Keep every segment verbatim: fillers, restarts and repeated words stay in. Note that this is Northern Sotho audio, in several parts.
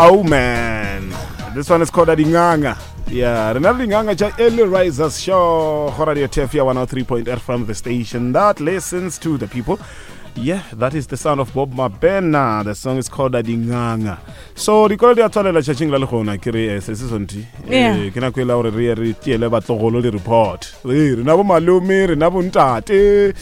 Oh man, this one is called Adinganga. Yeah, re na le dinganga tša Early Risers Show go Radio T F ya one oh three point eight from the station that listens to the people. Yeah, that is the sound of Bob Mabena. The song is called Adinganga. So dikolo di a tswalela tšatšing la legona ke re eh, se se sonti. Yeah. Eh, ke nako e la gore re ye re tiele batlogolo di-report. Ee, rena bo malome, rena bo ntate.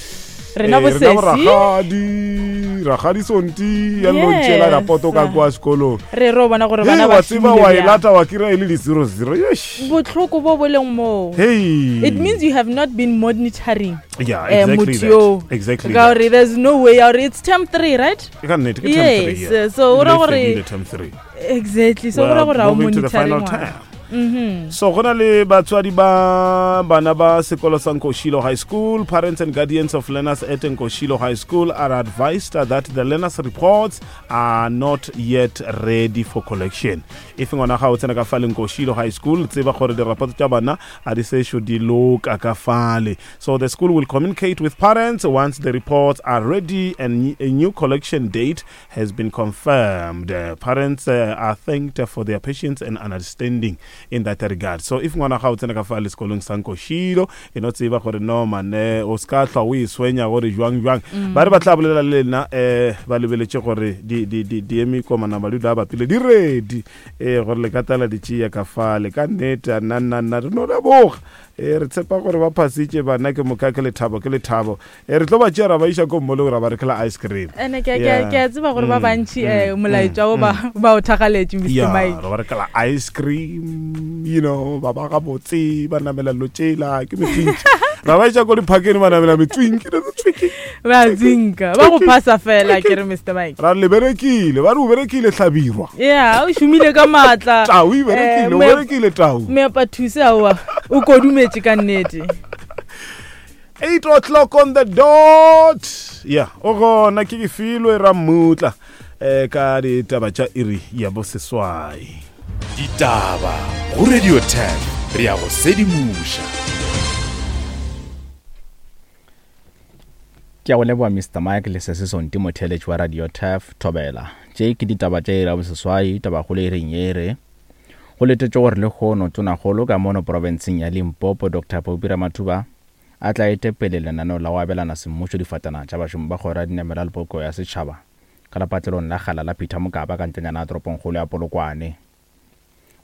Rena bo Eh, rena bo sesi. Rakgadi, rakgadi Sonti ya no ntšela Yes. rapoto ka kwa sekolong. Re ro bona gore Hei, bana ba wa tseba šomile wa e bjang. lata wa kry-a e le di-zero zero. Eish. Botlhoko bo bo leng moo, Hey. it means you have not been monitoring yeah, eh, exactly motho yo that. Exactly ka that. gore there's no way ya gore it's term three, right? Ka nnete, ke term three, Yes, yeah. so o ra Ebile e gore- fedile term three. Exactly, so We go ra are gore ga o moving to the monitore final ngwana. term. Mhm. So go na le batswadi ba bana ba sekolo sa Nkoshilo High School. Parents and guardians of learners at Nkoshilo High School are advised that the learners' reports are not yet ready for collection. If ngwana ga o tsena ka fale Nkoshilo High School, tseba gore dirapoto tša bana a di sešo di loka ka fale. So the school will communicate with parents once the reports are ready and a new collection date has been confirmed. Uh, parents uh, are thanked for their patience and understanding in that regard. So if ngwana ga o tsena ka fale sekolong sa Nkoshilo, e no tseba gore no man, eh, o ska hlwa o e swenya gore jwang jwang. Ba re ba tla bolela le lena, eh ba lebeletše gore di di di di eme komana ba dula ba pele di ready, eh gore le ka tala di tšea ka fale. Ka nnete, a nna nna nna re no leboga, eh re tshepa gore ba phasitše bana, ke moka ke lethabo, ke lethabo. Eh re tlo ba tšea ra ba iša ko mmolong, ra ba rekela ice cream. Ene ke Yeah. ke a tseba gore ba Mm, bantši mm, eh, molaetša o mm, ba ba o thagaletše, Mister Yeah, Mike. ra ba rekela ice cream, you know ba ba gabotse, ba namela lo tšela ke metswintši, ra ba iša ko diphakeng, ba namela metswinki. Ba zinka ba go phasa fela, ke re Mister Mike. Ra le berekile, ba re o berekile, hlabirwa. Yeah, o šomile ka maatla. Tau e berekile, Eh, o me- berekile tau. Meapathuse aowa, o kodumetše ka nnete. Eight o'clock on the dot. Yeah, o gona ke ke filwe ra mmutla eh ka ditaba tša iri ya boseswai. Ditaba go Radio ten, re ya go sedimoša. Ke a go leboa, Mister Mike le se se sonti motheletši wa Radio Taf Thobela. Tše ke ditaba tša ira boseswai. Tabakgolo e reng e re go letetše gore lehono tonakgolo ka mono profenseng ya Limpopo, Doctor Phophi Ramathuba, a tla ete pele lenaneo la go abelana semmušo difatana tša bašomi ba kgoro ya dinamelwa le poloko ya setšhaba ka lepatlelong la kgala la Peter Mokaba ka ntlenyana ya toropongkgolo ya Polokwane.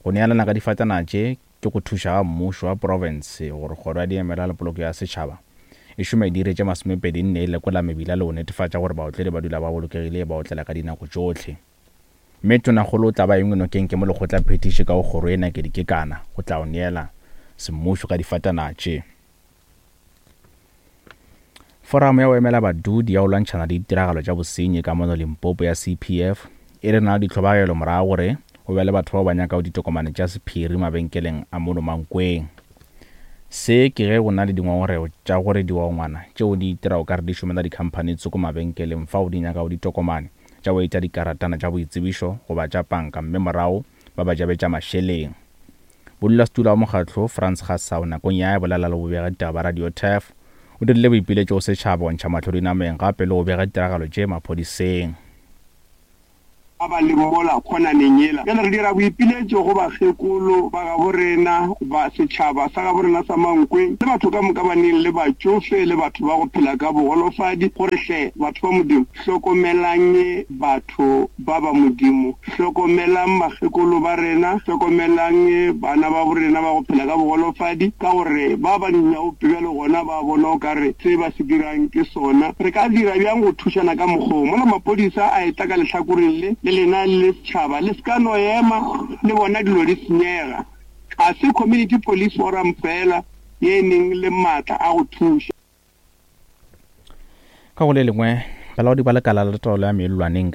Go neelana ka difatana tše ke go thuša ga mmušo wa profense gore kgoro ya dinamelwa le poloko ya setšhaba e šome diiri tše masomepedi nne e lekola mebila le go netefatša gore baotledi ba dula ba bolokegile ba otlela ka dinako tšohle. Mme tonakgolo o tla ba engwe nokeng ke mo lekgotla phetiši ka go kgoro e Nakedi Kekana go tla o neela semmušo ka difatana tše. Foramo ya go emela badudi ya go lwantšhana le ditiragalo tša bosenyi ka mono Limpopo ya C P F e re na le ditlhobagelo morago gore go be le batho bao ba nyakago ditokomane tša sephiri mabenkeleng a mono Mankweng. Se ke ge go na le dingongorego tša gore digongwana tšeo di itirago ka re di šomela dikhamphani tsoko mabenkeleng fao di nyakago ditokomane tša go etša dikaratana tša boitsebišo goba tša panka, mme morago ba ba jabetša mašeleng. Bodulasetulo wa mokgatlo, Frans Gasau, nakong ya bolela le bobega ditaba ba Radio Taf, o dirile boipiletšo go setšhaba go ntšha mahlo dinameng gape le go bega ditiragalo tše maphodiseng. Ba ba leng mola kgonaneng yela bjale re dira boipiletšo go bakgekolo ba gabo rena, ba setšhaba sa gabo rena sa Mankweng le batho ka moka ba neng le batšofe le batho ba go phela ka bogolofadi gore hle batho ba Modimo, hlokomelang batho ba ba Modimo, hlokomelang bakgekolo ba rena, hlokomelang bana ba borena ba go phela ka bogolofadi, ka gore ba ba dinyaope bjale gona ba bona o ka re se ba se dirang ke sona. Re ka dira bjang go thušana ka mokgoo mola maphodisa a etla ka lehlakoreng le le lena le setšhaba le se ka no ema le bona dilo di senyega? Ga se community police forum fela ye e neng le maatla a go thuša. Ka go le lengwe, balaodi ba lekala la taolo ya mellwaneng ka